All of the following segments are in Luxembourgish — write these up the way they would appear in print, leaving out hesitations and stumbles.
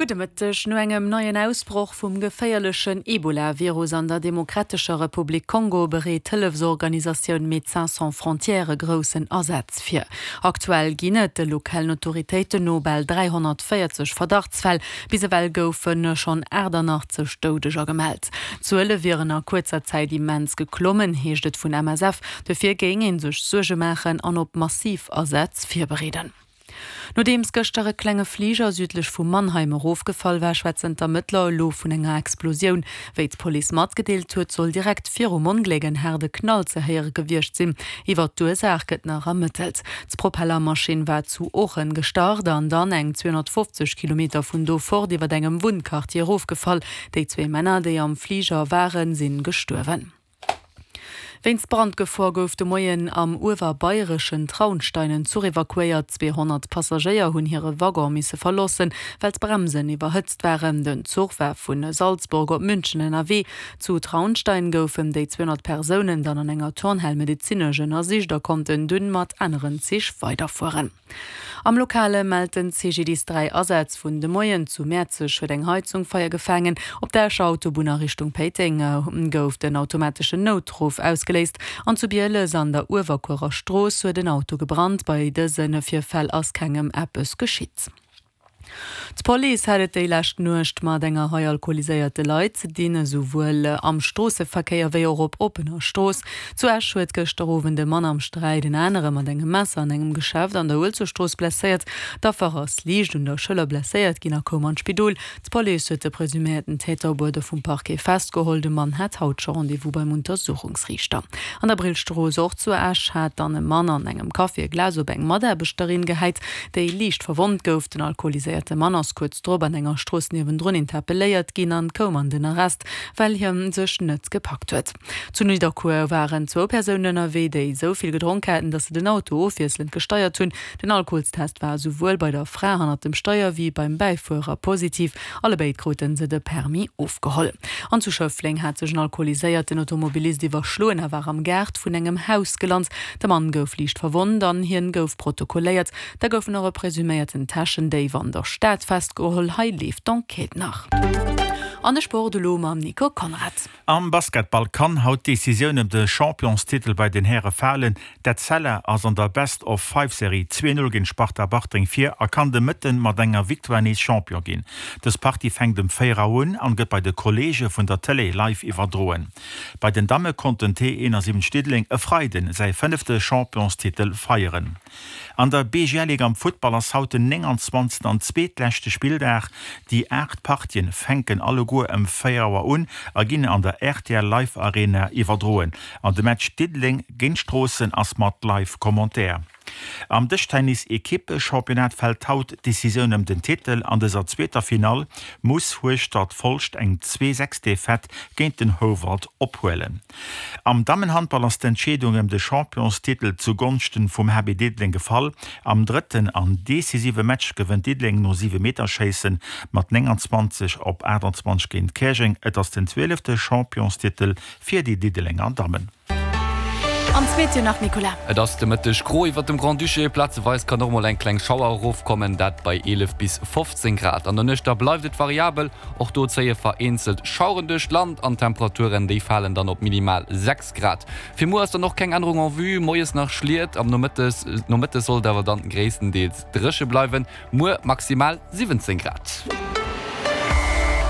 Gudde Mëtteg. No engem neien Ausbroch vum geféierlechen Ebola-Virus an der Demokratescher Republik Kongo bereet d'Hëllefsorganisatioun Médecins Sans Frontières e groussen Asaz vir. Aktuell ginn et de lokalen Autoritéiten no bal 340 Verdachtsfäll. Bis ewell goufe schonn 88 Doudeger gemellt. D'Zuele wieren a kuerzer Zäit immens geklommen, heescht et vun MSF. Dofir géing ee sech Suerge maachen an op massiv Asätz virbereeden. Nodeems gëschter e klenge Fliger südlech vu Mannheim erofgefall war, schwätzen d'Ermëttler elo vun enger Explosioun. Wéi d'Police matgedeelt huet, soll direkt virum Ongléck en haarde Knall ze héiere gewiescht sinn. Iwwer d'Ursaach gëtt nach ermëttelt. D'Propellermaschinn war zu Oochen gestart an dann eng 250 Kilometer vun do fort iwwer engem Wunnquartier erofgefall. Déi zwee Männer, déi am Fliger waren, sinn gestuerwen. Wéinst Brandgefor gouf de Moien am uewerbayreschen Traunstein en Zuch evakuéiert. 200 Passagéier hunn hire Waggon misse verlossen, well d'Bremsen iwwerhëtzt waren. Den Zuch war vu Salzburg op München ënnerwee. Zu Traunstein goufen déi 200 Persounen dann an enger Turnhal medezinesch ënnersicht a konnten dunn mat aneren Zich weiderfueren. Am Lokale mellt den CGDIS 3 Asätz vun de Moien. Zu Mäerzeg huet eng Heizung Feier gefaangen. Op der Escher Autobunn a Richtung Péiteng gouf den automateschen Noutruff ausgeléist an zu Bieles an der Uewerkuerer Strooss huet en Auto gebrannt. Bei dëse Virfäll ass kengem eppes geschitt. D'Police hat et déi lescht Nuecht mat enger Rei alkoholiséierte Leit ze dinn, esouwuel am Stroosseverkéier wéi och op oppener Strooss. Zu Esch huet gëschter Owend e Mann am Sträit en anere mat engem Messer an engem Geschäft an der Uelzechtstrooss blesséiert. D'Affer ass liicht un der Schëller blesséiert ginn a koum an d'Spidol. D'Police huet de presuméierten Täter op Uerder vum Parquet festgeholl. De Mann hat haut scho Rendez-vous beim Untersuchungsriichter. An der Brillstrooss, och zu Esch, hat dann e Mann an engem Café e Glas op eng Mataarbechterin gehäit, déi liicht verwonnt gouf. Den alkoholiséierte Mann ass kuerz drop an enger Strooss niewendrun interpelléiert ginn an koum an den Arrest, well hie sech net gepackt huet. Zu Nidderkuer waren zwou Persounen ënnerwee, déi esou vill gedronk haten, datt se den Auto ofwiesselend gesteiert hunn. Den Alkoholstest war esouwuel bei der Fra hannert dem Steier wéi beim Bäifuerer positiv. Allebéid krute se de Permis ofgeholl. An zu Schëffleng hat sech en alkoholiséierten Automobilist iwwerschloen a war am Gaart vun engem Haus gelant. De Mann gouf liicht verwonnt an hien gouf protokolléiert. Da goufen och e presuméierten Täschendéif an der Stad festgeholl. Hei leeft d'Enquête nach. An de Sport elo mam Nico Conrad. Am Basketball kann haut d'Decisioun ëm de Championstitel bei den Häre falen. D'Etzella ass an der Best-of-Five-Serie 2, 0 géint Sparta Bartreng vir a kann de Mëtten mat enger Victoire nees Champion ginn. Dës Partie fänkt ëm 4 Auer un an gëtt bei de Kolleege vun der Tëlee live iwwerdroen. Bei den Damme konnt den T 71 Diddeleng e Freiden säi fënnefte Championstitel feieren. An der BGL Ligue am Futtball ass haut den 29. an zweetleschte Spilldag. Déi 8 Partien fänken alleguer ëm 4 Auer un a ginn an der rtl Live Arena iwwerdroen. An de Match Diddeleng géint Stroossen ass mat Live Commentaire. Am Dëschtennis Equippe-Championnat fält haut d'Decisioun ëm den Titel. An dëser zweeter Finall muss Hueschtert Folscht eng 2, 6 Defaite géint den Houwald ophuelen. Am Dammenhandball ass d'Entscheedung ëm de Championstitel zu Gonschten vum HB Diddeleng gefall. Am drëtten an decisive Match gewënnt Diddeleng no Siwemeterschéissen mat 29 op 28 géint Käerjeng. Et ass den zwielefte Championstitel fir déi Diddelenger Dammen. An d'Meteo nach, Nicolas. Et ass de Mëtteg gro iwwert dem Grand-Duché, plazeweis kann och mol eng kleng Schauer erofkommen, dat bei 11 bis 15 Grad. An der Nuecht da bleift et variabel, Och do zéie vereenzelt Schaueren duerch d'Land an d'Temperaturen déi falen dann op minimal 6 Grad. Fir muer ass dann och keng Ännerung en vue, moies nach Schliet, am Nomëttes Nomëttes soll et awer dann gréisstendeels dréche bleiwen, muer maximal 17 Grad.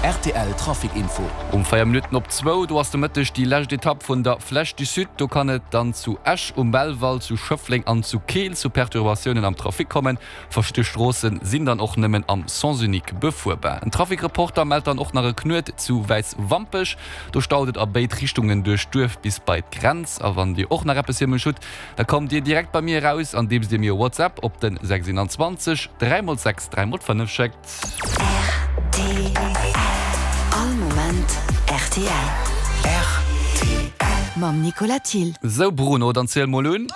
Rtl Trafic Info. Um 4 Minutten op zwou, do ass de Mëtteg déi lescht Etapp vun der Flèche du Sud. Do kann et dann zu Esch um Belval, zu Schëffleng an zu Keel zu Perturbatiounen am Trafic kommen. Verschidde Stroosse sinn dann och nëmmen am Sens unique befuerbar. En Trafic-Reporter mellt dann och nach e Knuet zu Wäiswampech. Do staut et a béid Richtungen duerch d'Duerf bis bei d'Grenz. A wann Dir och nach eppes fir mech hutt, da kommt Dir direkt bei mir eraus, andeems Dir mir e WhatsApp op den 621 3 x 6 3 x 5 schéckt. Rtl. All Moment rtl. Rtl. Mam Nicolas Thill. Sou Bruno, dann ziel mol un.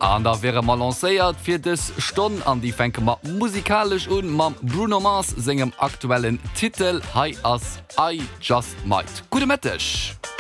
An da wiere mer lancéiert fir dës Stonn an déi fänke mer musikalesch un mam Bruno Mars sengem aktuellen Titel. Hei ass I Just Might. Gudde Mëtteg.